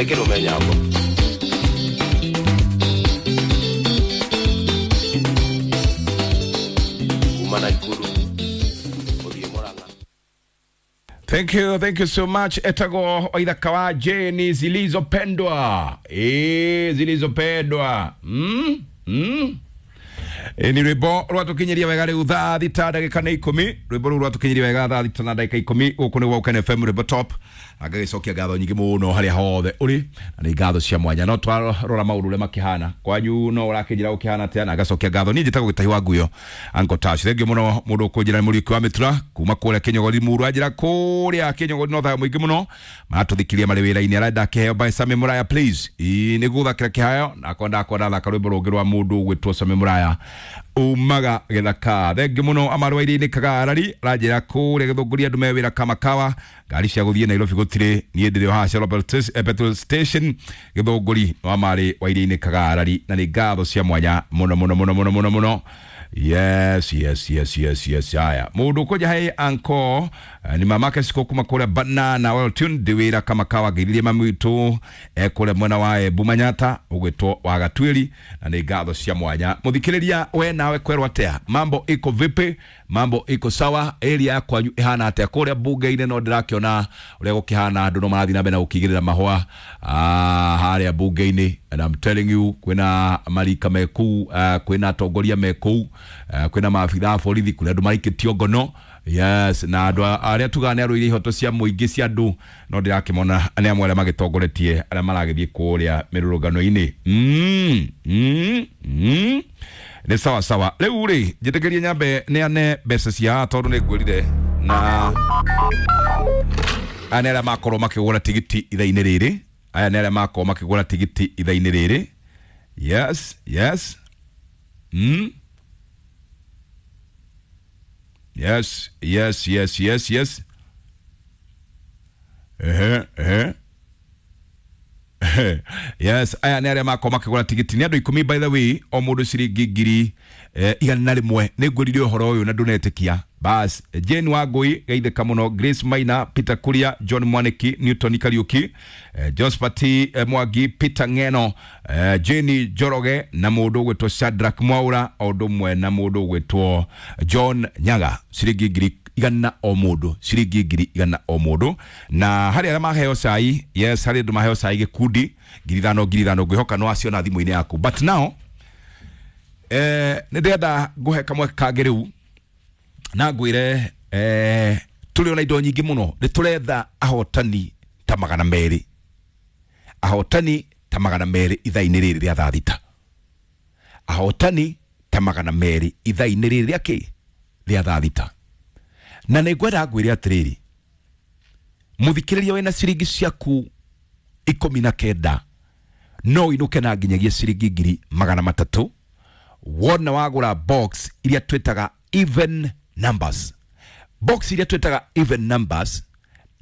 Nĩ kĩrũme nyambo. Kuma Naikuru ũthiĩ Mũrang'a. Thank you so much. Etago waithaka wa Jane zilizopendwa. Zilizopendwa. Ni rwimbo rwatukinyiria wega riu thaa thita ndagika nĩ ikũmi. Rwimbo rũu rwatukinyiria wega thaa thita na ndagika ikũmi. Gũkũ nĩ Woken FM rwimbo top. Ngagĩcokia ngatho nyingĩ mũno harĩa hothe ũrĩ, na nĩ ngatho cia mwanya. No twarora maũndũ ũrĩa makĩhana kwanyu, no ũrakĩnjĩra gũkĩhana atĩa, na ngacokia ngatho. Niĩ njĩtagwo Gĩtahi wa Nguyo, Uncle Tash. Thengiũ mũno mũndũ ũkũnjĩra nĩ Mũriũki wa Mĩtura kuma kũrĩa Kĩnyogori Muru, anjĩra kũrĩa Kĩnyogori no thayũ mũingĩ mũno, maratũthikirie marĩ wĩra-inĩ. Arenda kĩheo by Sami Muraya please. Ĩĩ nĩ gũthakĩra kĩheo, nakwa ndakwa ndathaka rwĩmbo rũngĩ rwa mũndũ ũgwĩtwo Sami Muraya umaga gĩthaka. Thengiũ mũno amarwaire-inĩ Kagarari, aranjĩra kũrĩa Gĩthũngũri andũ me wĩra kamakawa, ngari cia gũthiĩ Nairobi gũtirĩ, niĩ ndĩrĩ o haha Shell petrol station Gĩthũngũri wa marĩ waire-inĩ Kagarari, na nĩ ngatho cia mwanya mũno mũno mũno mũno mũno mũno. Yes, yes, yes, yes, yes. Haya, mũndũ ũkũnja he anko ni mamake siko kuma kũrĩa Banana well tuned ndĩ wĩra kamakawa, ngeirie mami witũ kũrĩa mwena wa Embu Manyata ũgwĩtwo wa Gatuĩri, na nĩ ngatho cia mwanya. Mũthikĩrĩria we nawe kwerwo atĩa, mambo iko vipi? Mambo iko sawa? Area ya kwanyu ĩhana atĩa? Kũrĩa bunge-inĩ no ndĩrakĩona ũrĩa gũkĩhana, andũ no marathiĩ na mbere na gũkĩigĩrĩra mahũa harĩa bunge-inĩ, and I'm telling you kwĩna marika me kũu, kwĩna atongoria me kũu, kwĩna maabitha a borithi, kũrĩa andũ maikĩtio ngono. Yes, na andũ arĩa tugaga nĩ arũire ihoto cia mũingĩ cia andũ, no ndĩrakĩmona nĩ amwe arĩa magĩtongoretie arĩa maragĩthiĩ kũrĩa mĩrũrũngano-inĩ. Nĩ sawa sawa. Rĩu rĩ, njĩtĩkĩrie nyambe neane mbeca cia haha, tondũ nĩ ngwĩrire na aya nĩ arĩa makorwo makĩgũra tigiti ithaa-inĩ rĩrĩ. Aya nĩ arĩa makorwo makĩgũra tigiti ithaa-inĩ rĩrĩ. Yes, yes. Yes, yes, yes, yes, yes. Ehe, ehe. Yes, aya nĩ arĩa makorwo makĩgũra tigiti, nĩ andũ 10 by the way, o mũndũ ciringi 100,000. Nĩ ngwĩrire ũhoro ũyũ na ndũnetĩkia. Bas, Jane Wangui geithĩka mũno, Grace Maina, Peter Kuria, John Mwaniki, Newton Kariuki, Josephat Mwangi, Peter Ng'eno, Jane Njoroge na mũndũ ũgwĩtwo Shadrack Mwaura, o ũndũ ũmwe na mũndũ ũgwĩtwo John Nyaga, ciringi 100,000 o mũndũ, ciringi 100,000 o mũndũ. Na harĩ arĩa maheo cai, yes, harĩ andũ maheo cai gĩkundi 5,000 5,000, ngwĩhoka no aciona thimũ-inĩ yaku. But now nĩ ndĩrenda ngũhe kamweke kangĩ rĩu na ngwĩre tũrĩ ona indo nyingĩ mũno, nĩ tũretha ahotani ta 200, ahotani ta 200 ithaa-inĩ rĩrĩ rĩa thaa thita, ahotani ta 200 ithaa-inĩ rĩrĩ rĩa kĩ rĩa thaa thita. Na nĩ ngwenda ngwĩre atĩrĩrĩ, mũthikĩrĩria wĩna ciringi ciaku 19 no ũinũke na nginyagia ciringi 300,000 wona wagũra box iria twĩtaga even numbers. Box iria twĩtaga even numbers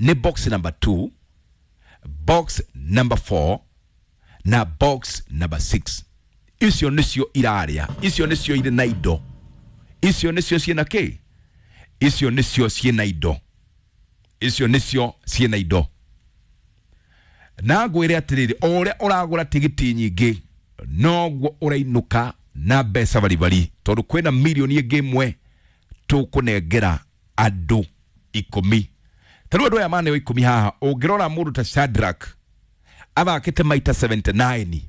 nĩ box number 2, box number 4 na box number 6. Icio nĩcio irarĩa, icio nĩcio irĩ na indo, icio nĩcio ciĩna kĩ, icio nĩcio ciĩna indo, icio nĩcio ciĩna indo. Na ngwĩre atĩrĩrĩ, o ũrĩa ũragũra tigiti nyingĩ noguo ũrainũka na mbeca baribari, tondũ kwĩna mirioni ĩngĩ ĩmwe tũkũnengera andũ 10. Ta rĩu andũ aya maneo 10 haha, ũngĩrora mũndũ ta Shadrack athakĩte maita 79,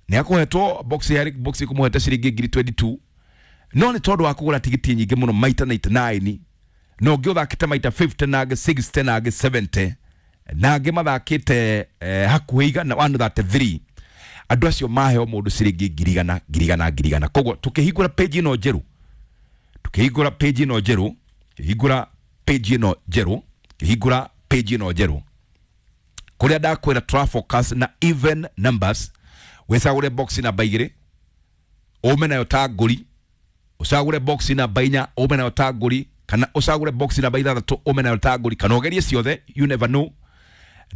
nĩ akũhetwo box ya box ĩkũmũhete ciringi 22,000, no nĩ tondũ wa kũgũra tigiti nyingĩ mũno maita 99, na ũngĩ ũthakĩte maita 50 na angĩ 60 na angĩ 70 na angĩ mathakĩte hakuhĩ 133. Andũ acio maheo mũndũ ciringi 100,000 100,000 100,000. Koguo tũkĩhingũra page ĩno njerũ, tũkĩhingũra page ĩno njerũ, tũkĩhingũra page ĩno njerũ, tũkĩhingũra page ĩno njerũ, kũrĩa ndakwĩra tũra focus na even numbers, wĩcagũre box namba 2 ũme nayo ta ngũri, ũcagũre box namba 4 ũme nayo ta ngũri, kana ũcagũre box namba 6 ũme nayo ta ngũri, kana ũgerie ciothe, you never know.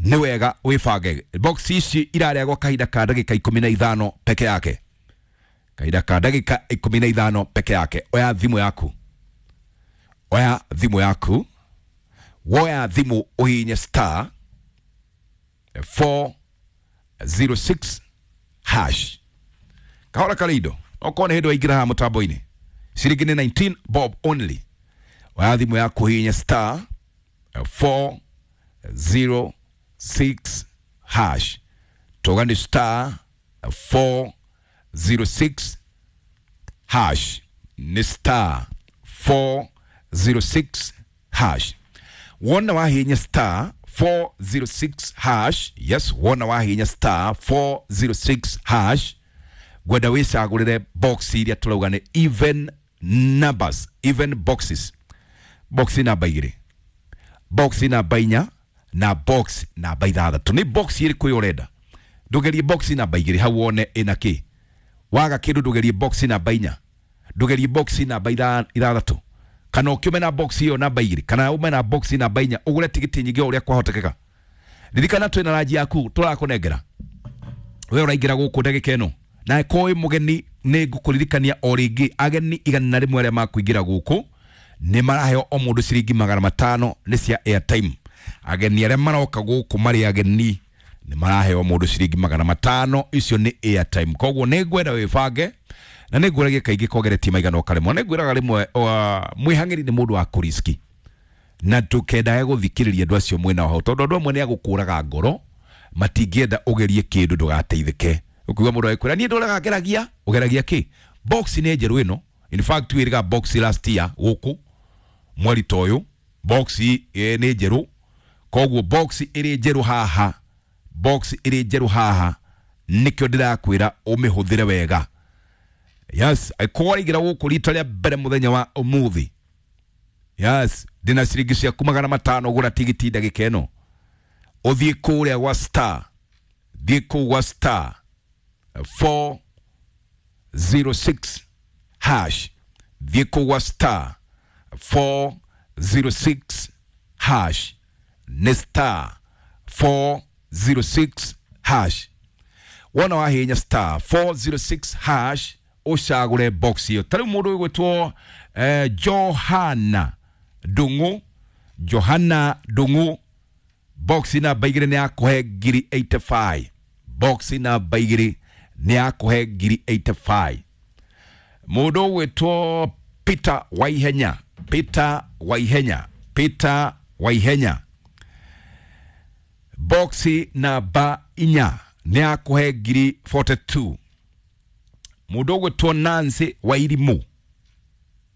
Nĩ wega wĩbange. Box ici irarĩa gwa kahinda ka ndagĩka 15 peke yake, kahinda ka ndagĩka 15 peke yake. Oya thimũ yaku, oya thimũ yaku, woya thimũ ũhihinye star 4 406 hash. Kahora karĩ indo okorwo nĩ hĩndĩ waingĩra haha mũtambo-inĩ, ciringi nĩ 19 bob only. Oya thimũ yaku, hihinya star 406 hash. Toga nĩ star 406 hash, nĩ star 406 hash. Wona wahihinya star 406 hash, yes, wona wahihinya star 406 hash, ngwenda wĩcagũrĩre box iria tũrauga nĩ even numbers, even boxes. Box namba 2, box namba 4 na box namba 6. Nĩ box ĩrĩkũ ĩyo ũrenda? Ndũgerie box namba 2 hau wone ĩna kĩ. Waga kĩndũ, ndũgerie box namba 4, ndũgerie box namba 6, kana ũkĩume na box ĩyo namba 2, kana ume na box namba 4, ũgũre tigiti nyingĩ o ũrĩa kwahotekeka. Ririkana twĩna ranji yaku tũrakũnengera we ũraingĩra gũkũ ndagĩka ĩno. Na ko wĩ mũgeni, nĩ ngũkũririkania o rĩngĩ, ageni 100 arĩa makũingĩra gũkũ nĩ maraheo o mũndũ ciringi 500 nĩ cia airtime. Ageni arĩa maroka gũkũ marĩ ageni nĩ maraheo mũndũ ciringi 500, icio nĩ airtime. Koguo nĩ ngwenda wĩbange, na nĩ ngwĩragia kaingĩ kogeretie maigana ũkaremwo. Nĩ ngwĩraga rĩmwe, mwĩhang'ĩri nĩ mũndũ wa kũriski, na ndũkendage gũthikĩrĩria andũ acio mwena hau, tondũ andũ amwe nĩ agũkũraga ngoro, matingĩenda ũgerie kĩndũ ndũgateithĩke. Ũkiuga mũndũ agĩkwĩra niĩ ndũraga ngeragia, ũgeragia kĩ? Box nĩ njerũ ĩno. In fact, twĩrĩga box last year gũkũ mweri ta ũyũ. Box nĩ njerũ, koguo box ĩrĩ njerũ haha, box ĩrĩ njerũ haha, nĩkĩo ndĩrakwĩra ũmĩhũthĩre wega. Yes, angĩkorwo waingĩra gũkũ rita rĩa mbere mũthenya wa ũmũthĩ, yes, ndĩna ciringi ciaku 500, gũra tigiti ndagĩka ĩno, ũthiĩ kũrĩa gwa star, thiĩ kũu gwa star 406 hash, thiĩ kũu gwa star 406 hash, nĩ star 406 hash. Wona wahihinya star 406 hash, ũcagũre box ĩyo. Ta rĩu mũndũ ũgwĩtwo Johana Ndung'u, Johana Ndung'u, box namba 2 nĩ yakũhe ngiri 85. Box namba 2 nĩ yakũhe ngiri 85. Mũndũ ũgwĩtwo Peter Waihenya, Peter Waihenya, Peter Waihenya, box namba 4 nĩ yakũhe ngiri 42. Mũndũ ũgwĩtwo Nancy Wairimu,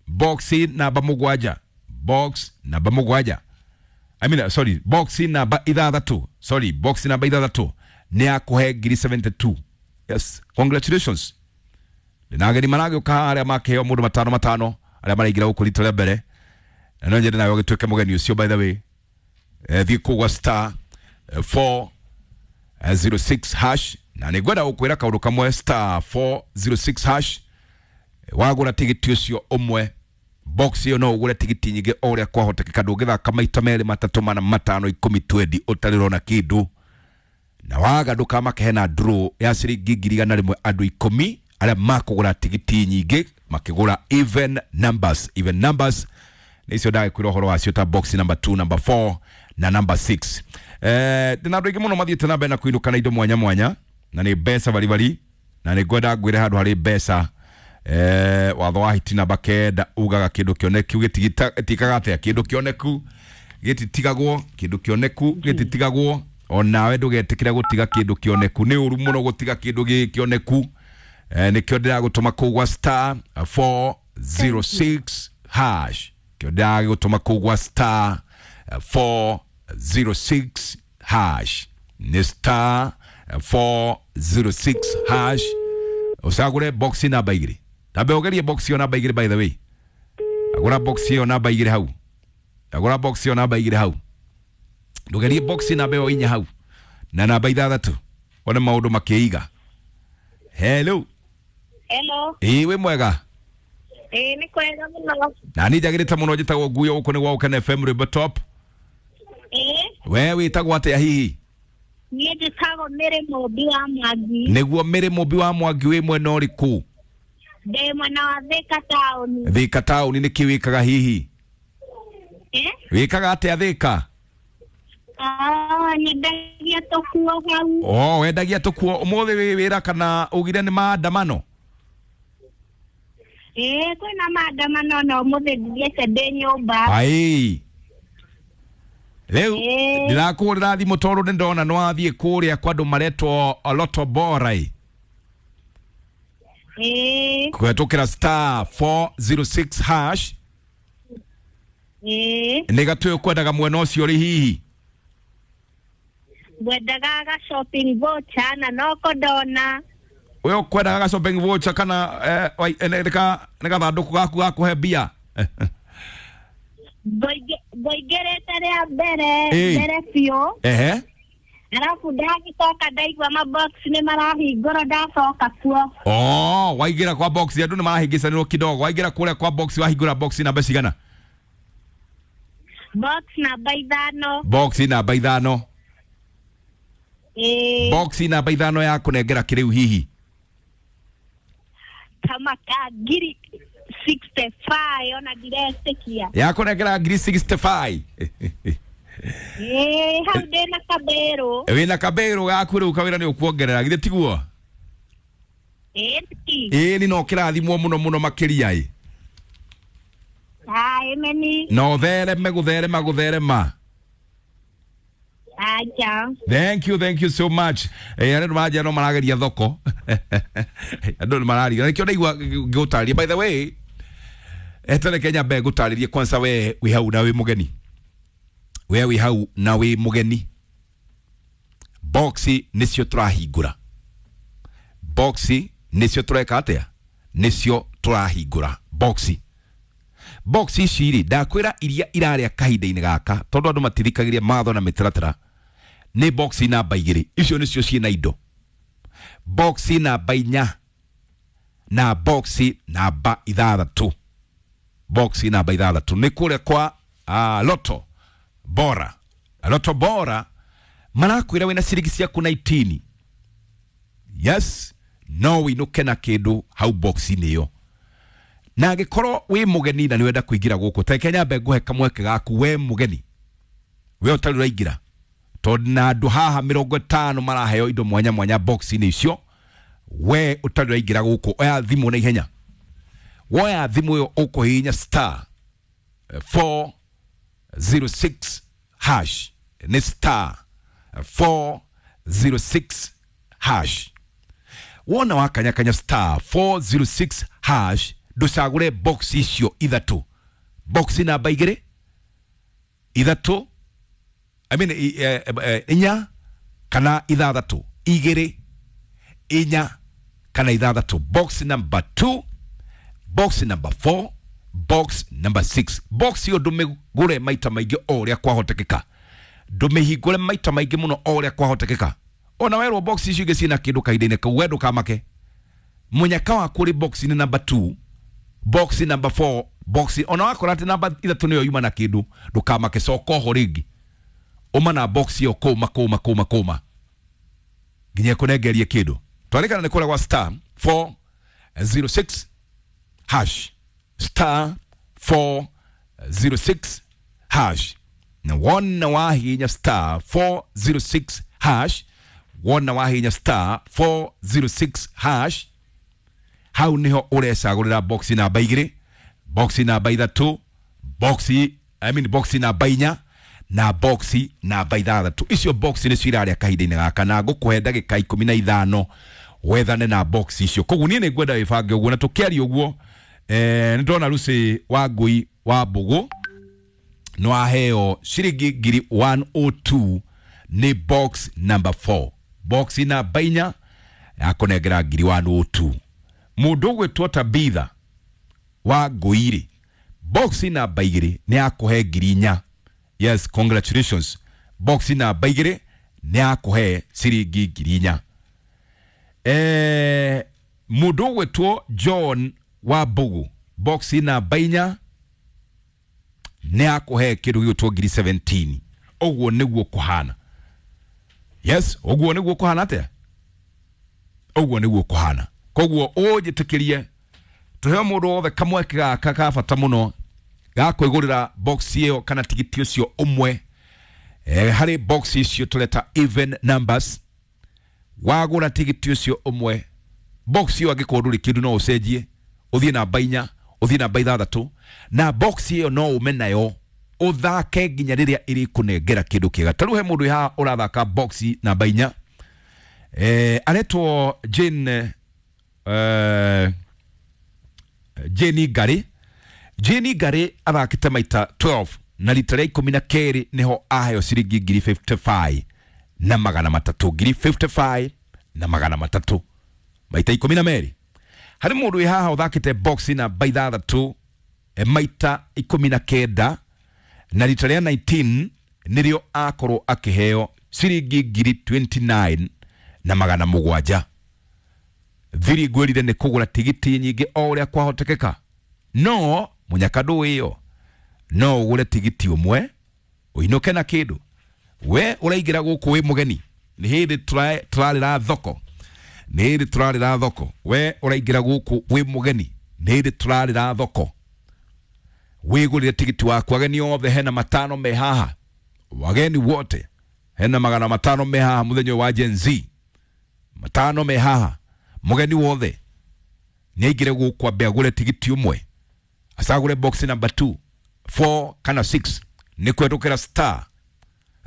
box namba 7, box namba 7, I mean, sorry, box namba 6, sorry, box namba 6 nĩ yakũhe ngiri 72. Yes, congratulations. Na ageni maragĩũka arĩa makĩheo mũndũ 5 5, arĩa maraingĩra gũkũ rita rĩa mbere, na no nyende nawe ũgĩtuĩke mũgeni ũcio. By the way, thiĩ kũu gwa star 406 hash, na nĩ ngwenda gũkwĩra kaũndũ kamwe. Star 406 hash, wagũra tigiti ũcio ũmwe, box ĩyo, no ũgũre tigiti nyingĩ o ũrĩa kwahotekeka. Ndũngĩthaka maita 2, 3, 4, 5, 10, 20 ũtarĩ ũrona kĩndũ. Na waga, ndũkamake, hena draw ya ciringi 100,000, andũ 10 arĩa makũgũra tigiti nyingĩ makĩgũra even numbers. Even numbers nĩ icio ndagĩkwĩra ũhoro wacio, ta box number 2, number 4 na number 6. Ndĩna andũ aingĩ mũno mathiĩte na mbere na kũinũka na indo mwanya mwanya, na nĩ mbeca baribari, na nĩ ngwenda ngwĩre handũ harĩ mbeca. Watho wa hiti namba 9 ugaga kĩndũ kĩoneku gĩtikaga atĩa? Kĩndũ kĩoneku gĩtitigagwo, kĩndũ kĩoneku gĩtitigagwo. Onawe ndũgetĩkĩre gũtiga kĩndũ kĩoneku, nĩ ũru mũno gũtiga kĩndũ gĩ kĩoneku. Nĩkĩo ndĩragũtũma kũu gwa star 406 hash, kĩo ndĩragũtũma kũu gwa star 406 hash, nĩ star 406 hash, ũcagũre box namba 2. Tambe ũgerie box ĩyo namba 2. By the way, agũra box ĩyo namba 2 hau, agũra box ĩyo namba 2 hau, ndũgerie box namba ĩyo 4 hau na namba 6, wone maũndũ makĩiga. Hello. Hello. Ĩĩ, wĩ mwega? Ĩĩ, nĩ kwega mũno. Na niĩ njagĩrĩte mũno. Njĩtagwo Nguyo, gũkũ nĩ gwa Ũkene FM, Rwĩmbo Top. Ĩĩ. We wĩtagwo atĩa hihi? Niĩ njĩtagwo Mary Mũmbi wa Mwangi. Nĩguo, Mary Mũmbi wa Mwangi, wĩ mwena ũrĩkũ? Ndĩ mwena wa Thika taũni. Thika taũni, nĩkĩ wĩkaga hihi? Eh? Wĩkaga atĩa Thika? Ah, nyendagia. Ndendagia tũkuo hau. Oh, wendagia tũkuo ũmũthĩ wĩ wĩra kana ugire nĩ maandamano? Ĩĩ kwĩna maandamano na ũmũthĩ ndithiĩte ndĩ nyũmba. Ai. Rĩu Ĩĩ. ndĩrakũhũrĩra thimũ tondũ nĩ ndona nĩ wathiĩ kũrĩa kwa andũ maretwo Lotto Bora ĩ. Ĩĩ. Kũhetũkĩra star 406 hash. Ĩĩ. Nĩ gatũ ũkwendaga mwena ũcio rĩ hihi? Ngwendaga ga shopping voucher na noko ndona. We ũkwendaga ga shopping voucher kana nĩ gathandũkũ gaku ga kũhe mbia? Ngũingĩrĩte rĩa mbere Ĩĩ. mbere biũ. Ehe. Arabu ndagĩcoka ndaigua mabox nĩ marahingũrwo ndacoka kuo. Oh, waingĩra kwa box andũ nĩ marahĩngĩcanĩrwo kidogo. Waingĩra kũrĩa kwa box wahingũra box namba cigana? Box namba 5. Box namba 5. Ĩĩ. Box namba 5 ya kũnengera kĩrĩu hihi. Kama ka ngiri 65 ona ndiretĩkia. Ya kũnengera ngiri 65. Ĩĩ hau ndĩna kabĩrũ. Wĩna kabĩrũ gaku rĩu kawĩra nĩ ũkuongerera githĩ tiguo? Ĩĩ. Ĩĩ ni no kĩrathimwo mũno mũno makĩria ĩ. Ai meni. Na ũthereme gũtherema gũtherema. Aja. Thank you so much. Arĩa maranjia no marageria thoko. Andũ nĩ mararia. Nĩkĩo ndaigua ngĩgũtarĩria. By the way, etereke nyambe ngũtarĩrie kwanza we wĩ hau na wĩ mũgeni. We wĩ hau na wĩ mũgeni. Boxi nĩcio tũrahingũra. Boxi nĩcio tũreka atĩa? Nĩcio tũrahingũra. Boxi. Boxi ici rĩ, ndakwĩra iria irarĩa kahinda-inĩ gaka tondũ andũ matithikagĩria matho na mĩtaratara nĩ boxi namba 2 icio nĩcio ciĩna indo. Boxi namba 4 na boxi namba 6. Boxi namba 6 nĩ kũrĩa kwa Lotto Bora. Lotto Bora marakwĩra wĩna ciringi ciaku 19. Yes, no wĩinũke na kĩndũ hau boxi-inĩ ĩyo. Na angĩkorwo wĩ mũgeni na nĩwenda kũingĩra gũkũ, ta reke nyambe ngũhe kamweke gaku we mũgeni. We ũtarĩ ũraingĩra. Tondũ na andũ haha 50 maraheo indo mwanya mwanya box-inĩ icio, we ũtarĩ ũraingĩra gũkũ, oya thimũ na ihenya. Woya thimũ ĩyo ũkũhihinya star 406 hash. Nĩ star 406 hash. Wona wakanyakanya star 406 hash, ndũcagũre box icio ithatũ. Box namba 2, 3, I mean, 4 kana 6. 2, 4 kana 6. Box number 2, box number 4, box number 6. Box ĩyo ndũmĩgũre maita maingĩ o ũrĩa kwahotekeka. Ndũmĩhingũre maita maingĩ mũno o ũrĩa kwahotekeka. Ona werwo box icio ingĩ ciĩna kĩndũ kahinda-inĩ kau, we ndũkamake. Mũnyaka waku ũrĩ box-inĩ number 2, box number 4, box ona wakora atĩ namba 3 nĩyo yuma na kĩndũ, ndũkamake, coka oho rĩngĩ. Uma na box ĩyo kũma kũma kũma kũma nginya ĩkũnengerie kĩndũ. Twarĩkana nĩ kũrĩa gwa star 406 hash. Star 406 hash. Na wona wahinya star 406 hash, wona wahinya star 406 hash, hau niho ũrecagũrĩra box namba 2, box namba 3, box I mean box namba 4 na box namba 6. Icio box nĩcio irarĩa kahinda-inĩ gaka na ngũkũhe ndagĩka 15 wethane na box icio. Koguo niĩ nĩngwenda wĩbange ũguo na tũkĩaria ũguo, nĩ ndona Lucy wa Ngui wa Mbũgũ nĩ waheo ciringi ngiri 102 nĩ box number 4. Box namba 4 yakũnengera ngiri 102. Mũndũ ũgwĩtwo Tabitha wa Ngũi-rĩ, box namba 2 nĩ yakũhe ngiri 4. Yes, congratulations. Box namba 2 nĩ yakũhe ciringi ngiri 4. Mũndũ ũgwĩtwo John wa Mbũgũ, box namba 4 nĩ yakũhe kĩndũ gĩgwĩtwo ngiri 17. Ũguo nĩguo kũhana. Yes, ũguo nĩguo kũhana atĩa? Ũguo nĩguo kũhana. Koguo ũnjĩtĩkĩrie tũheo mũndũ wothe kamweke gaka ka bata mũno ga kwĩgũrĩra box ĩyo kana tigiti ũcio ũmwe. Harĩ box icio tũreta even numbers, wagũra tigiti ũcio ũmwe, box ĩyo angĩkorwo ndũrĩ kĩndũ no ũcenjie ũthiĩ namba 4, ũthiĩ namba 6, na box ĩyo no ume nayo ũthake nginya rĩrĩa ĩrĩkũnengera kĩndũ kĩega. Ta rĩu he mũndũ wĩ haha ũrathaka box namba 4, aretwo Jane, Jane Ngari. Jane Ngari athakĩte maita 12 na rita rĩa 12 nĩho aheo ciringi ngiri 55 na magana matatũ, ngiri 55 na magana matatũ maita 12. Harĩ mũndũ wĩ haha ũthakĩte box namba 6 maita 19 na rita rĩa 19 nĩrĩo akorwo akĩheo ciringi ngiri 29 na magana mũgwanja. Thiri ngwĩrire nĩ kũgũra tigiti nyingĩ o ũrĩa kwahotekeka, no mũnyaka ndũĩ ĩyo no ũgũre tigiti ũmwe ũinũke na kĩndũ. We ũraingĩra gũkũ wĩ mũgeni, nĩ hĩndĩ tũrarĩra thoko, nĩ hĩndĩ tũrarĩra thoko. We ũraingĩra gũkũ wĩ mũgeni, nĩ hĩndĩ tũrarĩra thoko. Wĩgũrĩre tigiti waku. Ageni othe hena 5 me haha, wageni wote hena 500 me haha mũthenya ũyũ wa Gen Z, 5 me haha. Mũgeni wothe nĩ aingĩre gũkũ ambe agũre tigiti ũmwe, acagũre box number 2, 4 kana 6, nĩ kũhetũkĩra star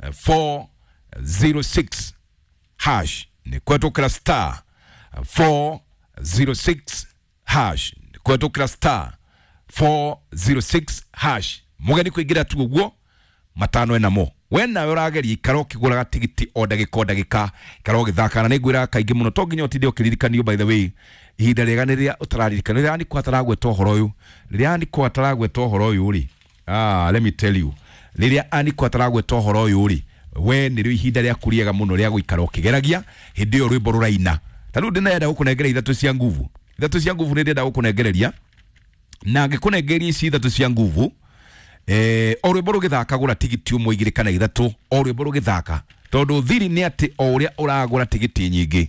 406 hash, nĩ kũhetũkĩra star 406 hash, nĩ kũhetũkĩra star 406 hash. Mũgeni kũingĩra tu ũguo 5 enamo. We nawe ũrageria ikara ũkĩgũraga tigiti o ndagĩka o ndagĩka, ikara ũgĩthaka. Na nĩngwĩraga kaingĩ mũno to nginya ũtinde ũkĩririkanio. By the way, ihinda rĩega nĩ rĩrĩa ũtararirikana, rĩrĩa Aniko ataragweta ũhoro ũyũ, rĩrĩa Aniko ataragweta ũhoro ũyũ rĩ, let me tell you, rĩrĩa Aniko ataragweta ũhoro ũyũ rĩ, we nĩrĩo ihinda rĩaku rĩega mũno rĩa gũikara ũkĩgeragia hĩndĩ ĩyo rwĩmbo rũraina. Ta rĩu ndĩnenda gũkũnengera 3 cia nguvu, 3 cia nguvu nĩ ndĩrenda gũkũnengereria, na ngĩkũnengeria ici 3 cia nguvu, o rwĩmbo rũgĩthaka gũra tigiti ũmwe, 2 kana 3, o rwĩmbo rũgĩthaka, tondũ thiri nĩ atĩ o ũrĩa ũragũra tigiti nyingĩ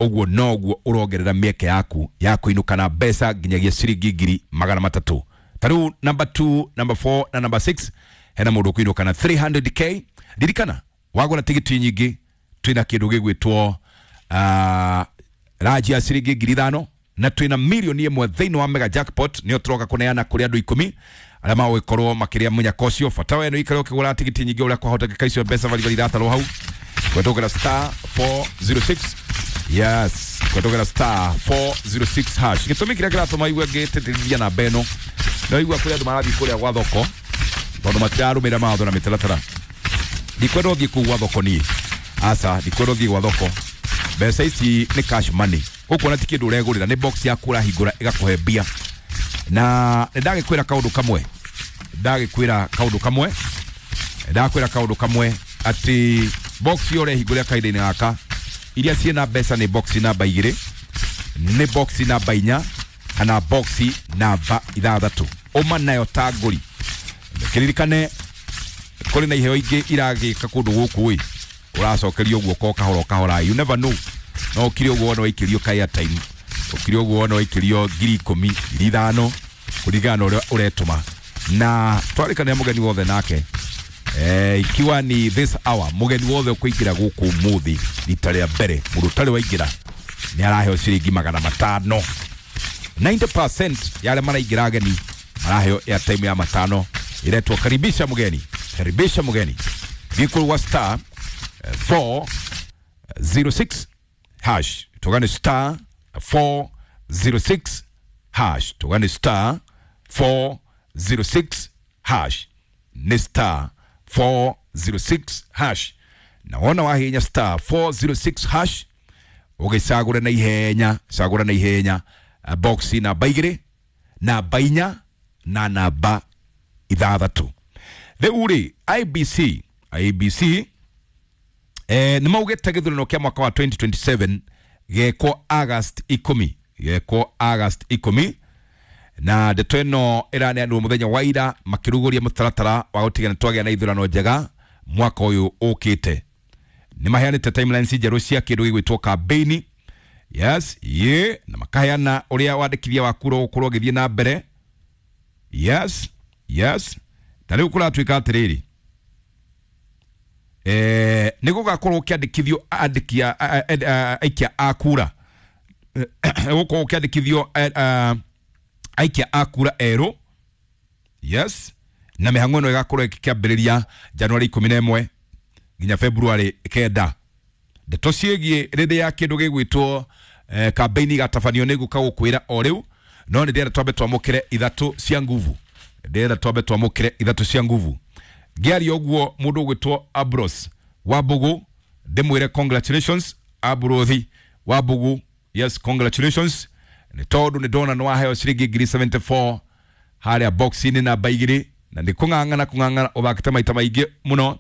ũguo noguo ũrongerera mĩeke yaku ya kũinũka na mbeca nginyagia ciringi ngiri magana matatũ. Ta rĩu number 2, number 4 na number 6 hena mũndũ ũkũinũka na 300k. Ririkana wagũra tigiti nyingĩ twĩna kĩndũ gĩgwĩtwo raji ya ciringi ngiri 5, na twĩna milioni 1 thĩinĩ wa mega jackpot, nĩyo tũroka kũneana kũrĩ andũ 10 arĩa magũgĩkorwo makĩrĩa mũnyaka ũcio. Bata we nĩ ũikare ũkĩgũra tigiti nyingĩ ũrĩa kwahotekeka, icio mbeca baribari iratarwo hau kũhetũkĩra star 406, yes, kũhetũkĩra star 406 hash. Gĩtũmi kĩrĩa kĩratũma igue ngĩtĩtĩrithia namba ĩno, no igua kũrĩ andũ marathiĩ kũrĩa gwa thoko tondũ matirarũmĩrĩra mawatho na mĩtaratara. Ndikwenda ũthiĩ kũu gwa thoko niĩ, aca, ndikwenda ũthiĩ gwa thoko. Mbeca ici nĩ cash money, ũkuona ti kĩndũ ũregũrĩra, nĩ box yaku ũrahingũra ĩgakũhe mbia. Na nĩ ndagĩkwĩra kaũndũ kamwe, ndagĩkwĩra kaũndũ kamwe, ndakwĩra kaũndũ kamwe atĩ box ĩyo ũrehingũrĩra kahinda-inĩ gaka, iria ciĩna mbeca nĩ box namba 2, nĩ box namba 4 kana box namba 6. Ũma nayo ta ngũri. Kĩririkane kũrĩ na iheo ingĩ iragĩka kũndũ gũkũ ĩ, ũracokerio guoko kahora o kahora, you never know. No ũkire ũguo wona waikĩrio ka airtime, ũkire ũguo wona waikĩrio ngiri 10, ngiri 5, kũringana na ũrĩa ũretũma. Na twarĩkanĩra mũgeni wothe nake, ikiwa ni this hour, mũgeni wothe ũkũingĩra gũkũ ũmũthĩ rita rĩa mbere, mũndũ ũtarĩ waingĩra nĩ araheo ciringi 500. 90% ya arĩa maraingĩra ageni maraheo airtime ya 500, iretwo karibisha mgeni, karibisha mgeni. Gĩkũrũ wa star 406 hash, tugane star 406 hash, tugane star 406 hash, ni star 406 hash. Na wona wahinya star 406 hash ũgĩcagũre na ihenya, cagũra na ihenya box namba 2, namba 4 na namba 6. Rĩu rĩ, IBC nĩ maugĩte gĩthurano kĩa mwaka wa 2027 gekwo August 10, gekwo August 10, na ndeto ĩno ĩraneanirwo mũthenya wa ira makĩrugũria mũtaratara wa gũtigana twagĩa na ithurano njega mwaka ũyũ ũkĩte. Nĩ maheanĩte timelines njerũ cia kĩndũ gĩgwĩtwo campaign, yes, ye, na makaheana ũrĩa wandĩkithia wa kura ũgũkorwo ũgĩthiĩ na mbere, yes, yes. Ta rĩu kũratuĩka atĩrĩrĩ, Nĩ gũgakorwo gũkĩandĩkithio andĩki aikia a kura, gũkorwo gũkĩandĩkithio aikia a kura erũ. Yes, na mĩhang'o ĩno ĩgakorwo ĩkĩambĩrĩria Januari 11 nginya February 9. Ndeto ciĩgiĩ rĩrĩa kĩndũ gĩgwĩtwo kambeini igatabanio nĩ ngũka gũkwĩra o rĩu, no nĩ ndĩrenda twambe twamũkĩre ithatũ cia nguvu, ndĩrenda twambe twamũkĩre ithatũ cia nguvu. Ngĩaria ũguo, mũndũ ũgwĩtwo Abros Wambugu, ndĩmwĩre congratulations, Abrothi Wambugu. Yes, congratulations, nĩ tondũ nĩ ndona nĩ waheo ciringi 74,000 harĩa box-inĩ namba 2, na nĩ kũng'ang'ana kũng'ang'ana ũthakĩte maita maingĩ mũno.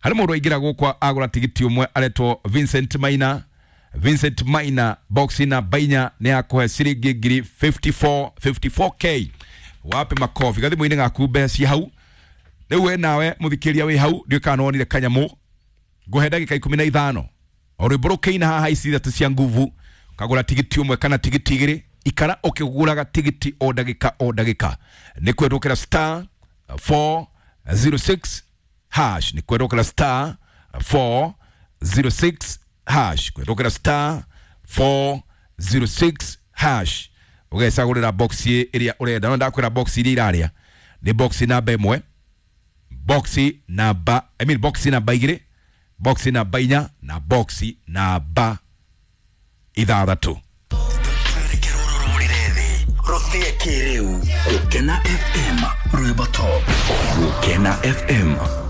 Harĩ mũndũ aingĩra gũkwa agũra tigiti ũmwe aretwo Vincent Maina. Vincent Maina, box namba 4 nĩ akũhe ciringi 54,000, 54K. Wapi makobi? Gathimũ-inĩ gaku mbeca ci hau. Rĩu we nawe mũthikĩria wĩ hau, ndiũĩ kana nĩwonire kanyamũ. Ngũhe ndagĩka 15 o rwĩmbo rũkĩina haha ici ithatũ cia nguvu, kagũra tigiti ũmwe kana tigiti igĩrĩ. Ikara ũkĩgũraga tigiti o ndagĩka o ndagĩka. Nĩ kwendũkĩra star 406 hash, nĩ kwendũkĩra star 406 hash, kwendũkĩra star 406 hash, ũgecagũrĩra box ĩrĩa ũrenda. No ndakwĩra box iria irarĩa nĩ box namba 1, box namba, I mean, box namba 2, box namba 4 na box namba 6. Rũthie kĩrĩu. Gũkena FM, rwĩmbo top. Gũkena FM.